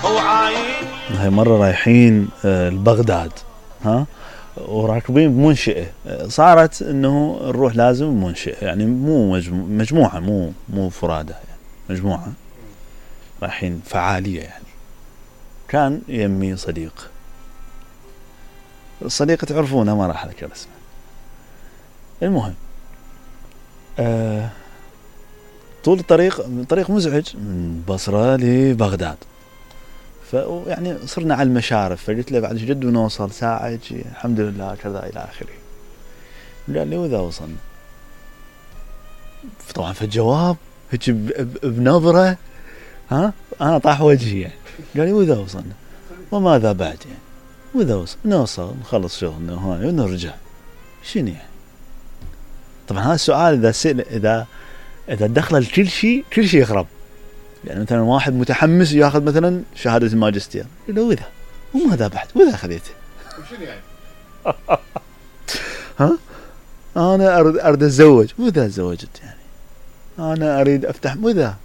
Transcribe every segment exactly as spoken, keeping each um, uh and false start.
هاي مرة رايحين لبغداد ها وراكبين بمنشئة، صارت انه نروح لازم بمنشئة، يعني مو مجموعة مو مو فرادة، يعني مجموعة رايحين فعالية. يعني كان يمي صديق، الصديق تعرفونه ما راح اذكر اسمه. المهم آه طول الطريق طريق مزعج من بصرة لبغداد، فيعني صرنا على المشارف، فقلت له بعد جد ونوصل ساعة الحمد لله كذا إلى آخره. قال لي وإذا وصلنا؟ طبعا في الجواب هيك بنظرة ها أنا طاح وجهي، يعني قال لي وإذا وصلنا؟ وماذا بعد يعني؟ وإذا وصل نوصل نخلص شغلنا وهاي ونرجع شنو يعني؟ طبعا هذا السؤال إذا سئل إذا إذا دخل الكل شيء كل شيء يخرب. يعني مثلا واحد متحمس ياخذ مثلا شهادة الماجستير، يقول له وإذا وماذا بعد؟ وإذا أخذته وشنو يعني؟ ها أنا أريد أريد أتزوج، وإذا تزوجت يعني أنا أريد أفتح، وإذا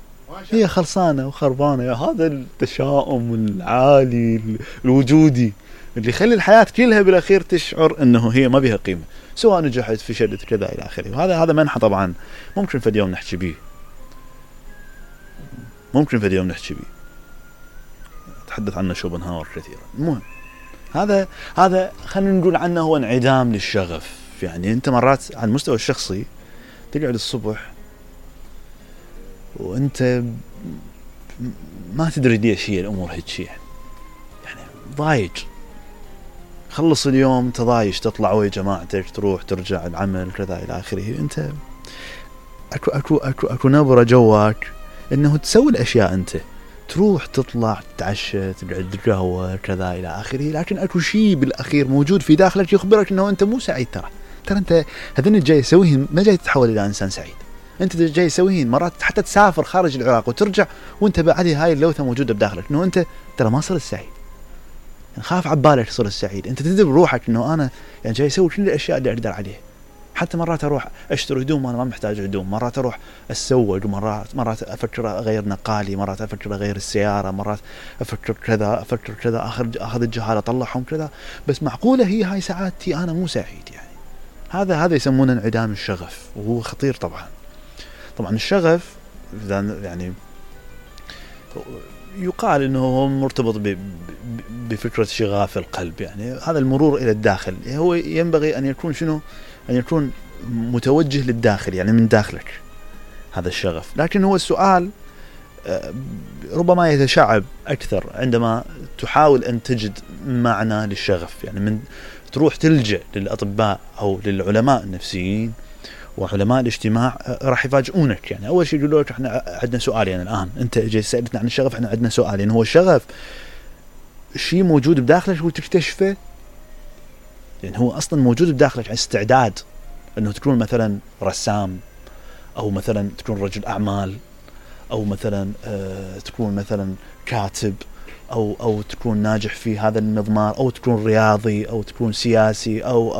هي خلصانة وخربانة. يا هذا التشاؤم العالي الوجودي اللي يخلي الحياة كلها بالأخير تشعر أنه هي ما بها قيمة، سواء نجحت فشلت كذا إلى آخره. وهذا هذا منحة طبعا ممكن في اليوم نحكي به، ممكن في اليوم نحكي به تحدث عنه شوبنهاور كثيرا. المهم هذا هذا خلينا نقول عنه هو انعدام للشغف. يعني أنت مرات على المستوى الشخصي تقعد الصبح وأنت ما تدري ليش هي الأمور هيك، يعني يعني ضايج، خلص اليوم تضايج، تطلع ويا جماعتك تروح ترجع العمل كذا إلى آخره. أنت أكو أكو أكو أكو نبرة جواك إنه تسوي الأشياء، أنت تروح تطلع تتعشى تقعد قهوة كذا إلى آخره، لكن أكو شيء بالأخير موجود في داخلك يخبرك إنه أنت مو سعيد. ترى ترى أنت هذين جاي تسويهن ما جاي تتحول إلى إنسان سعيد، أنت جاي تسويهن مرات حتى تسافر خارج العراق وترجع وأنت بعدي هاي اللوثة موجودة بداخلك إنه أنت ترى ما صرت سعيد. يعني خاف عبالك صرت سعيد، أنت تدري بروحك إنه أنا يعني جاي أسوي كل الأشياء اللي أقدر عليها. حتى مرات أروح أشتري هدوم أنا ما محتاج هدوم، مرات أروح أتسوق، مرات مرات أفكر أغير نقالي، مرات أفكر أغير السيارة، مرات أفكر كذا أفكر كذا أخذ أخذ الجهال أطلعهم كذا. بس معقولة هي هاي سعادتي؟ أنا مو سعيد. يعني هذا هذا يسمونه انعدام الشغف، وهو خطير طبعا. طبعا الشغف يعني يقال إنه هو مرتبط بفكرة شغاف القلب، يعني هذا المرور إلى الداخل. هو ينبغي أن يكون شنو؟ أن يكون متوجه للداخل، يعني من داخلك هذا الشغف. لكن هو السؤال ربما يتشعب أكثر عندما تحاول أن تجد معنى للشغف. يعني من تروح تلجأ للأطباء أو للعلماء النفسيين وعلماء الاجتماع راح يفاجئونك. يعني أول شيء يقولوا لك إحنا عندنا سؤالين يعني الآن، أنت جاي سألتنا عن الشغف، إحنا عندنا سؤالين. يعني هو الشغف شيء موجود بداخلك وتكتشفه، يعني هو أصلا موجود بداخلك على استعداد أنه تكون مثلا رسام، أو مثلا تكون رجل أعمال، أو مثلا آه تكون مثلا كاتب، أو أو تكون ناجح في هذا المضمار، أو تكون رياضي، أو تكون سياسي، أو